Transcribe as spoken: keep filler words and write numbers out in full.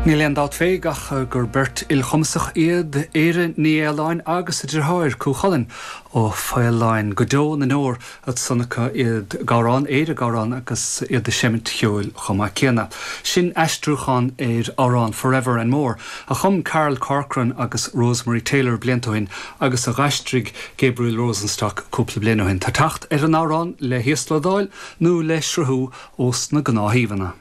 Níl aon dabht fé ach gur beirt ilchumasach iad Éire Ní Fhaoláin agus a deartháir Cú Chulainn ó Faoláin go deo na ndeor ansan acu iad ag amhrán Éire ag amhrán agus iad ag seimint cheoil chomh maith céanna. Sin aistriúchán ar amhrán Forever and More a chum Carl Corcoran agus Rosemary Taylor blianta ó shin agus a d'aistrigh Gabriel Rosenstock cúpla bliain ó shin. Tá teacht ar an amhrán le híoslódáil nó le sruthú ós na gnáthshuíomhanna.